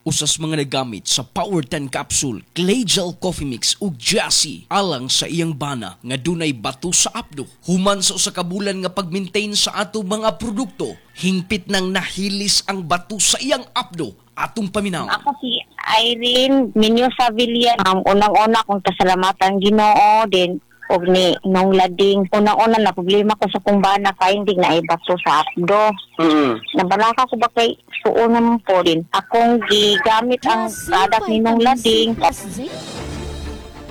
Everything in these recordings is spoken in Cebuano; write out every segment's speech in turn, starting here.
Usa sa mga nagamit sa Power 10 capsule, Clay Gel Coffee Mix ug Jassy alang sa iyang bana nga dunay bato sa apdo. Human sa usa ka bulan nga pag-maintain sa ato mga produkto, hingpit nang nahilis ang bato sa iyang apdo. Atong paminaw. Ako si Irene Mendoza Villa. Unang-una kong pasalamatan Ginoo din og ni nung lading. Unang-una na problema ko sa kong bana finding na ibato sa apdo. Nabalaka ko ba kay suo naman po din. Akong gigamit ang Jassy product ni nung Vitamin C lading. plus zinc.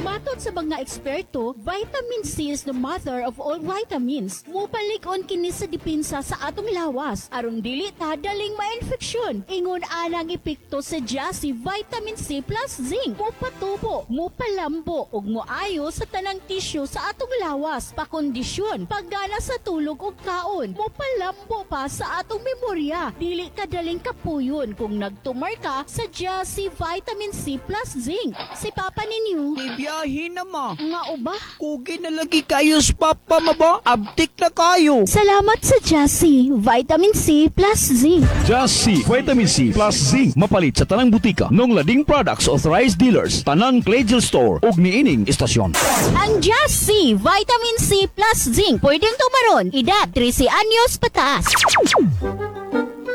Matod sa mga eksperto, vitamin C is the mother of all vitamins. Mupalig-on kini sa depensa sa atong lawas aron dili ta daling ma-infeksyon. Ingon anang epekto sa Jassy Vitamin C plus Zinc. Mupatubo, mupalambo ug moayo sa tanang tisyo sa atong lawas, pakondisyon, paggana sa tulog ug kaon. Mupalambo pa sa atong memorya. Dili ka daling kapuyon kung nagtumar ka sa Jassy Vitamin C plus Zinc. Si Papa ninyo, Ibiyahe na ma. nga uba? Kugi na lagi kayo sa papa ma ba? Abtik na kayo. Salamat sa Jassy Vitamin C plus Zinc. Just C, Vitamin C plus Zinc. Mapalit sa tanang butika. Nung Lading Products Authorized Dealers, Tanang Claygel Store ug niining istasyon. Ang Jassy Vitamin C plus Zinc pwedeng tumaron edad 13 anyos pataas.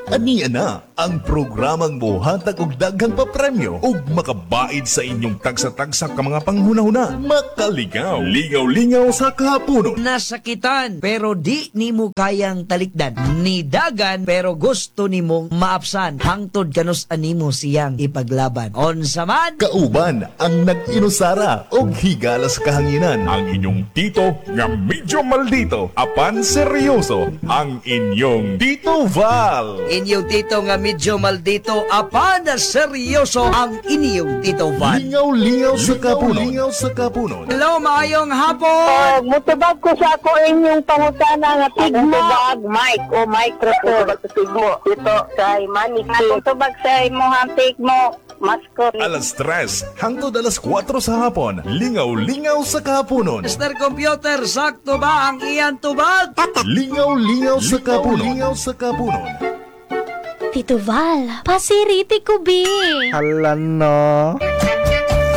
Aniya na ang programang mohatag og daghang papremyo ug makabaid sa inyong tagsa-tagsa ka mga panghunahuna. Makaligaw, lingaw-lingaw sa kahaponon. Nasakitan pero di nimo kayang talikdan. Nidagan pero gusto nimong maapsan. Hangtod kanus animo siyang ipaglaban. Unsa man? Kauban ang nag-inusara og higala sa kahanginan. Ang inyong tito nga medyo maldito apan seryoso, ang inyong Tito Val. Inyong tito nga medyo maldito apan seryoso, ang inyong Tito Val. Lingaw-lingaw sa kapunon. Lingaw sa kapunon. Hello, maayong hapon. Mutubag ko sa ako inyong pangutana nga tigmo. Tubag mic o microphone. Tubag sa tigmo. Ito kay Manny. Atong tubag sa imong tigmo. Maskot. Alas 3 hangtod alas 4 sa hapon. Lingaw-lingaw sa kapunon. Mr. Computer, sakto ba ang iyan tubag? Lingaw-lingaw sa kapunon. Lingaw sa kapunon. Tito Val, pasiriti ko bi. Hala no.